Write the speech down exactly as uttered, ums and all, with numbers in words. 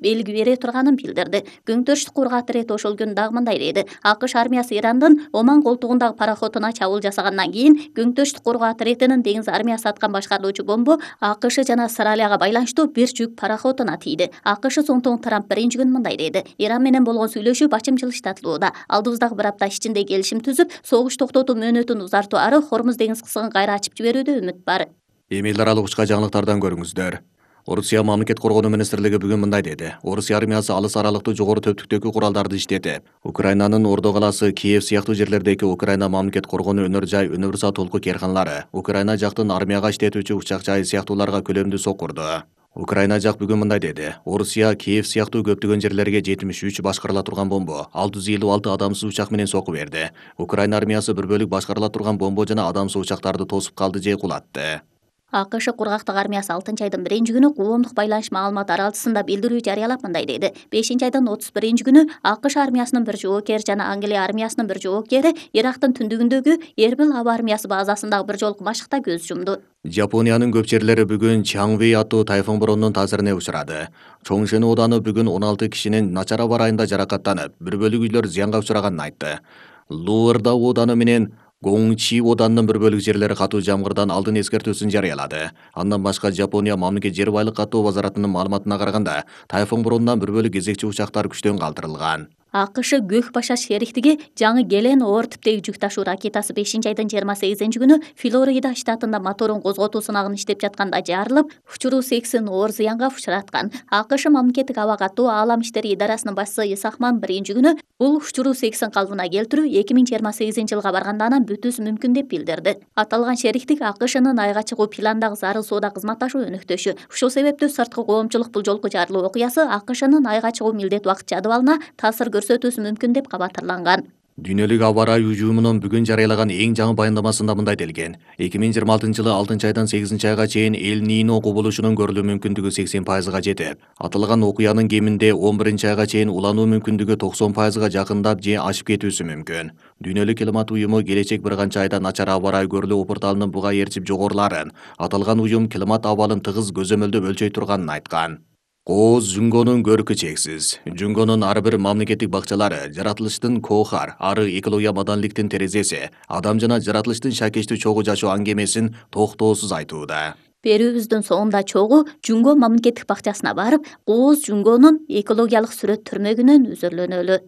белги бере турганын билдирди. Күнтөштүк кургак ирети ошол күнү дагы мындай деди. АКШ армиясы Ирандын Оман колтугундагы пароходуна чабуул жасагандан кийин Күнтөштүк кургак иретинин деңиз армиясы аткан башкарылуучу бомбу АКШ жана Австралияга байланыштуу бир жүк пароходуна тийди. АКШ Соңтоң Трамп биринчи күнү мындай деди. Иран менен болгон сүйлөшүү бачым жылыштатылууда. Алдыбыздагы бир апта ичинде келишим түзүп, согуш токтотуу мөөнөтүн узартуу ары Хормуз деңиз кысыгын кайра ачып жиберүүдө үмүт бар. Эми эл аралык учка жаңылыктардан көрүңүздөр. Орусия мамлекет коргонуу министрлиги бүгүн мындай деди. Орусия армиясы алыс аралыктуу жогору төптүктөгү куралдарды иштетип, Украинанын Ордо калаасы, Киев сыяктуу жерлердеги Украина мамлекет коргонуу өнөр жай, универсал толку керканлары, Украина жактын армияга иштетүүчү учак жай сыяктууларга көлөмдүү сокурду. Украина жак бүгүн мындай деди. Орусия Киев сыяктуу көптөгөн жерлерге жетимиш үч башкарыла турган бомбо, алты жүз элүү алты адамсыз учак менен соку берди. Украина армиясы бир бөлүк башкарыла турган бомбо жана адамсыз учактарды тосуп калды же кулатты. АКШ кургактык армиясы алтынчы айдын биринчи күнү коомдук байланыш маалымат аралчысында билдирүү жарыялап мындай деди. бешинчи айдын отуз биринчи күнү АКШ армиясынын бир жоокери жана Англия армиясынын бир жоокери Ирактын түндүгүндөгү Эрбил аба армиясы базасындагы бир жолку машыкта көз жумду. Жапониянын көп жерлери бүгүн Чаңви аттуу тайфун боронунун таасирине учурады. Чоңшен ооданы бүгүн он алты кишинин начар аба ырайында жаракаттанып, бир бөлүк үйлөр зыянга учураганын айтты. Луарда ооданы менен Гоңчи оданынын бир бөлүк жерлери катуу жамгырдан алдын эскертүүсүн жарыялады. Андан башка Жапония мамлекет жер байлык катуу базаратынын маалыматына караганда, тайфун боронунан бир бөлүк кезекчи учактар күчтөн калтырылган. АКШ Көк Башаш шериктиги жаңы Гелен оор типтеги жүк ташуу ракетасы бешинчи айдын жыйырма сегизинчи күнү Флорида штатында моторун козготуу сынагын иштеп жатканда жарылып, учуруу сексен оор зыянга учураткан. АКШ мамлекеттик аба катуу аалам иштери идарасынын башчысы Исахман биринчи күнү бул учуруу сексен калыбына келтирүү эки миң жыйырма сегизинчи жылга барганда анан бүтүүсү мүмкүн деп билдирди. Аталган шериктик АКШнын айга чыгуу пландагы зарыл соода кызматташуу өнөктөшү. Ушул себептүү сырткы коомчулук бул жолку жарылуу окуясы АКШнын айга чыгуу милдет убакыт жадыбалына таасир көрсөтүүсү мүмкүн деп кабатырланган. Дүйнөлүк аба ырайы уюмунун бүгүн жарыялаган эң жаңы баяндамасында мындай делген. эки миң жыйырма алтынчы жылы алтынчы айдан сегизинчи айга чейин Эль Нино кубулушунун көрүлүү мүмкүндүгү сексен пайызга жетип, аталган окуянын кеминде он биринчи айга чейин улануу мүмкүндүгү токсон пайызга жакындап же ашып кетүүсү мүмкүн. Дүйнөлүк климат уюму келечек бир канча айда начар аба ырайы көрүлүү опурталынын буга ээрчип жогорулаарын, аталган уюм климат абалын тыгыз көзөмөлдөп өлчөй турганын айткан. Кооз Жүнгөнүн көркү чексиз. Жүнгөнүн ар бир мамлекеттик бакчалары жаратылыштын коохар, ары экология маданиликтин терезеси, адам жана жаратылыштын шакештүү чогуу жашоо аңгемесин токтоосуз айтууда. Берүүбүздүн соңунда чогуу Жүнгө мамлекеттик бакчасына барып, Кооз Жүнгөнүн экологиялык сүрөт түрмөгүнөн үзүрлөнөлү.